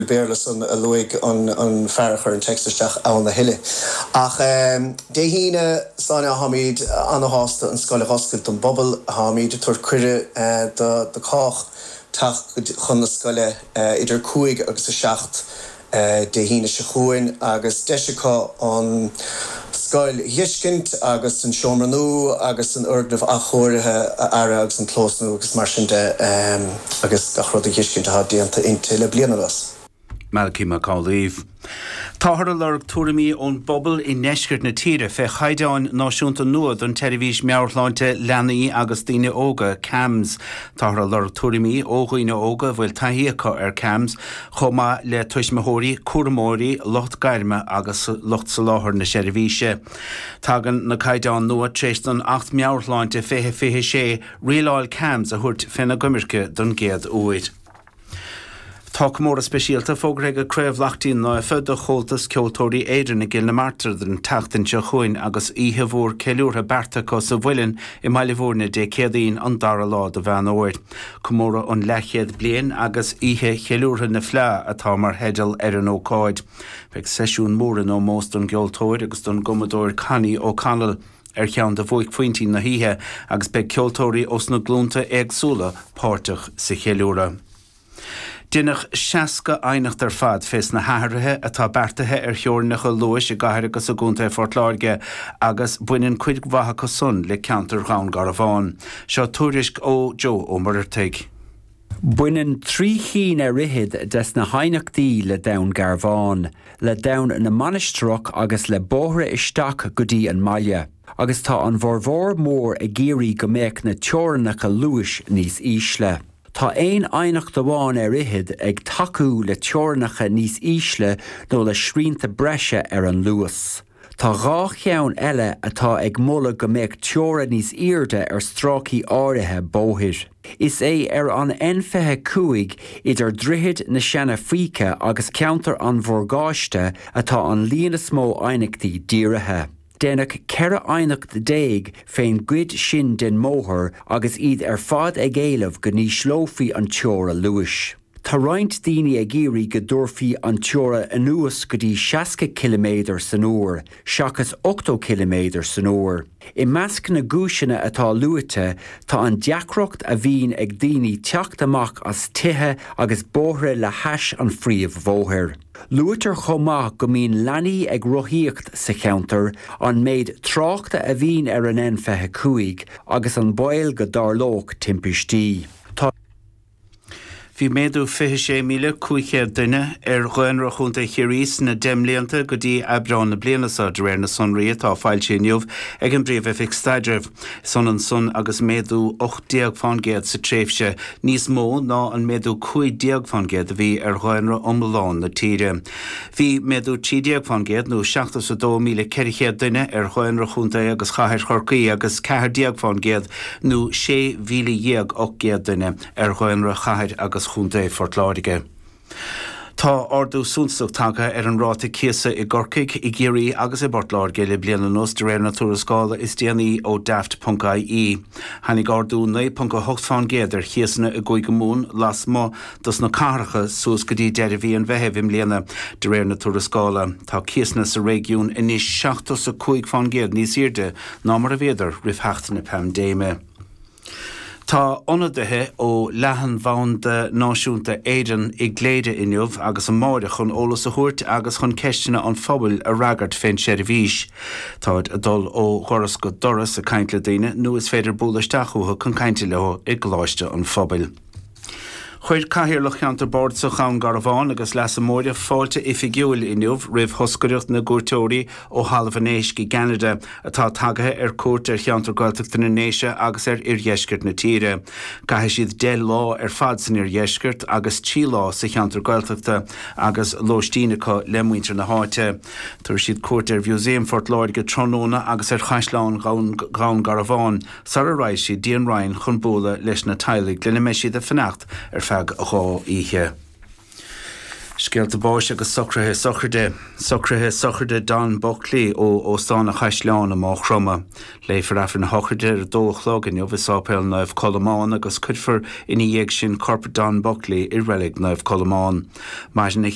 Béarla san a luaigh an fear a chuir an téacs isteach ann a thuilleadh. Ach Dé hAoine, Sláine, táimid ana-shásta an scoil a dh'oscailt don bpobal. Táimid ag tabhairt cuireadh do chách teacht chun na scoile idir 5 agus 7 Dé hAoine seo chugainn agus deis acu an scoil a dh'fheiscint agus an seomra nua agus an fhoirgneamh athchóirithe a fhaire agus an clós nua agus mar sin de agus gach rud a dh'fheiscint atá déanta inti le bliain anuas. Malachy Mac Amhlaoibh. Táthar ag lorg tuairimí ón bpobal i ndeisceart na tíre fé chaighdeáin náisiúnta nua don tseirbhís meabhairshláinte leanaí agus daoine óga, CAMHS. Táthar ag lorg tuairimí ó dhaoine óga a bhfuil taithí acu ar CAMHS chomh maith le tuismitheoirí, cúramóirí, lucht gairme agus lucht soláthair na seirbhíse. Tagann na caighdeáin nua tar éis don Acht Meabhair-Shláinte 2026 rialáil CAMHS a thabhairt féna gcoimirce don gcéad uair. Tá comóradh speisialta fógartha ag Craobh Laichtín Naofa do Chomhaltas Ceoltóirí Éireann i gCill na Martra don tseachtain seo chugainn agus oíche mhór ceiliúrtha beartaithe acu sa Mhuileann i mBaile Bhúirne Dé Céadaoin an dara lá de Mheán Fhómhair. Comóradh an Leathchéad Bliain agus Oíche Cheiliúrtha na Fleá atá mar theideal ar an ócáid. Beidh seisiún mór in ómós don gceoltóir agus don gcumadóir Connie O'Connell ar cheann de bhuaicphointí na hoíche agus beidh ceoltóirí ós na glúnta éagsúla páirteach sa cheiliúradh. Deineadh 60 aighneacht ar fad fés na hathruithe atá beartaithe ar theorainneacha luais i gcathair agus i gcontae Phort Láirge agus baineann cuid mhaith acu san le ceantar Dhún Garbhán. Seo tuairisc ó Joe Ó Muircheartaigh. Baineann 3 chinn ar fhichead des na haighneachtaí le Dún Garbhán, le Dún na Mainistreach agus le bóithre isteach go dtí an mbaile, agus tá an bhformhór mór ag iarraidh go mbeadh na teorainneacha luais níos ísle. Tá aon aighneacht amháin ar fhichead ag tacú le teorainneacha níos ísle nó le srianta breise ar an luas. Tá 2 cheann eile atá ag moladh go mbeadh teora níos airde ar stráicí áirithe bóthair. Is é ar an N25 idir Droichead na Seana-Faoite agus ceantar an Mhorgáiste atá an líon is mó aighneachtaí dírithe. Deineadh 14 aighneacht fén gcuid sin den mbóthar agus iad ar fad ag éileamh go n-ísleofaí an teora luais. Tá roinnt daoine ag iarraidh go dtabharfaí an teora anuas go dtí 60 ciliméadar san uair, seachas 80 ciliméadar san uair. I measc na gcúiseanna atá luaite tá an deacracht a bhíonn ag daoine teacht amach as tithe agus bóithre le hais an phríomhbhóthair. Luaitear chomh maith go mbíonn leanaí ag rothaíocht sa cheantar, an méid tráchta a bhíonn ar an N25 agus an baol go dtarlódh timpistí. Tá. Bhí méadú 26,500 duine ar dhaonra Chontae Chiarraí sna 10 mblianta go dtí Aibreán na bliana seo, de réir na sonraí atá foilsithe inniu ag an bPríomh-Oifig Staidrimh. Is ionann san agus méadú 18 fán gcéad sa tréimhse, níos mó ná an méadú 15 fán gcéad a bhí ar dhaonra iomlán na tíre. Bhí méadú 13 fán gcéad, nó 72,400 duine, ar dhaonra chontae agus chathair Chorcaí agus 14 fán gcéad, nó 16,800 duine, ar dhaonra chathair agus chontae Phort Láirge. Tá ardú suntasach tagtha ar an ráta cíosa i gCorcaigh, i gCiarraí agus i bPort Láirge le bliain anuas, de réir na tuarascála is déanaí ó Daft.ie. Tháinig ardú 9.8 fán gcéad ar chíosanna i gCúige Mumhan lasmuigh dos na cathracha suas go dtí deireadh mhí an Mheithimh i mbliana, de réir na tuarascála. Tá cíosanna sa réigiún anois 75 fán gcéad níos airde ná mar a bhíodar roimh theacht na paindéime. Tá ionadaithe ó Leathanbhanda Náisiúnta Éireann i gCléire inniu agus amáireach chun eolas a thabhairt agus chun ceisteanna an phobail a fhreagairt fén seirbhís. Táid ag dul ó dhoras go doras ag caint le daoine nó is féidir bualadh isteach chucu chun cainte leo i gColáiste an Phobail. Chuir Cathaoirleach Cheantar Bardasach Dhún Garbhán agus Leasa Móire fáilte oifigiúil inniu roimh thoscaireacht na gcuairteoirí ó Thalamh an Éisc i gCeanada atá tagaithe ar cuairt ar cheantar Gaeltachta na nDéise agus ar oirdheisceart na tíre. Caithfidh siad 10 lá ar fad san oirdheisceart agus 3 lá sa cheantar Gaeltachta agus lóistín acu le muintir na háite. Tabharfaidh siad cuairt ar Mhúsaem Phort Láirge tráthnóna agus ar Chaisleán Dhún Garbhán. sara raghaidh siad dtí an Rinn chun bualadh leis na teaghlaigh lena mbeidh siad ag fanacht ar feadh 2 oíche. Scéalta báis agus socruithe sochraide. Socruithe sochraide Don Buckley ó Óstán an Chaisleáin i Maigh Chromtha. Léifear Aifreann a shochraide ar a dó a chlog inniu i Sáipéal Naomh Colmán agus cuirfear ina dhiaidh sin corp Don Buckley i Reilig Naomh Colmán. Maireann a.